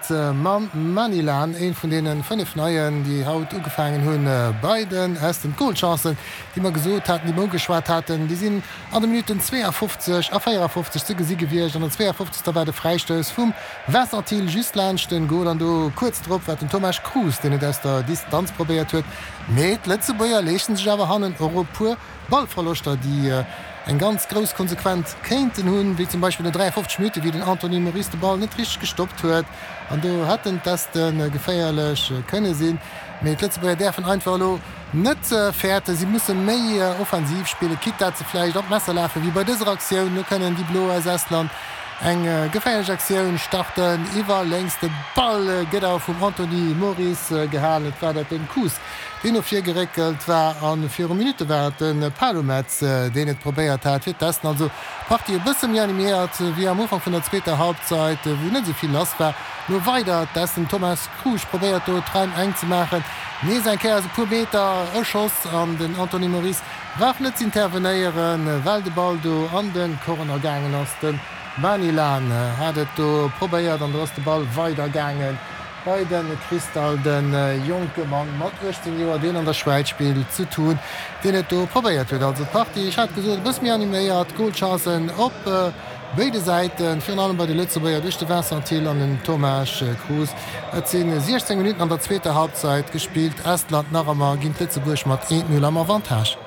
et mam Manilan, een vun deene 5 Neien, déi haut ugefaangen hunn bei den Esten. D'Golchancen, déi mer gesot haten, déi mer ugeschwat haten, déi sinn an de Minutten 52 a 54 ze gesi gewiescht. An der 52. war de Fräistouss vum Vincent Thill just laanscht den Gol an do kuerz drop war den Tomasz Cruz, deen et aus der Distanz probéiert huet. Mee d'Lëtzebuerger leeschten sech awer hannen och e puer Ballverloschter, déi eng ganz grouss Konsequenz kéinten hunn, wéi zum Beispill no 53 Minutte wéi den Anthony Moris de Ball net richteg gestoppt huet an do hätten d'Este geféierlech kënne sinn. Mee d'Lëtzebuerger däerfen einfach elo net fäerten, si musse méi offensiv spillen, quitte dat se vläicht an d'Messer lafen, wéi bei dëser Aktioun. Do kënnen déi Blo aus Estland eng geféierlech Aktioun starten iwwer lénks. De Ball gëtt awer vum Anthony Moris gehalen, et war dat den Kuss. deen no vir geréckelt war a viru Minutte war et de Palumets, deen et probéiert hat fir d'Esten. Also d'Partie e bësse méi animéiert wéi am Ufank vun der zweeter Halbzeit, wou net esou vill lass war. Lo weider d'Esten, Thomas Krusch probéiert do d'Raim enk ze maachen, nees eng Kéier aus e puer Meter e Schoss an den Anthony Moris brauch net z'intervenéieren, well de Ball do an de Corner gaangen ass. De Manilan hat et do probéiert an do ass de Ball weider gaangen. Bei de Cristal, de jonke Mann mat 18 Joer, deen an der Schwäiz spillt, zu Thun, deen et do probéiert huet. Also d'Partie, ech hat gesot, e bësse méi animéiert, Golchancen op béide Säiten, virun allem bei de Lëtzebuerger duerch de Vincent Thill an den Tomáš Krus. Et si 16 Minutten an der zweeter Halbzeit gespillt, Estland nach ëmmer géint Lëtzebuerg mat 1, 0 am Avantage.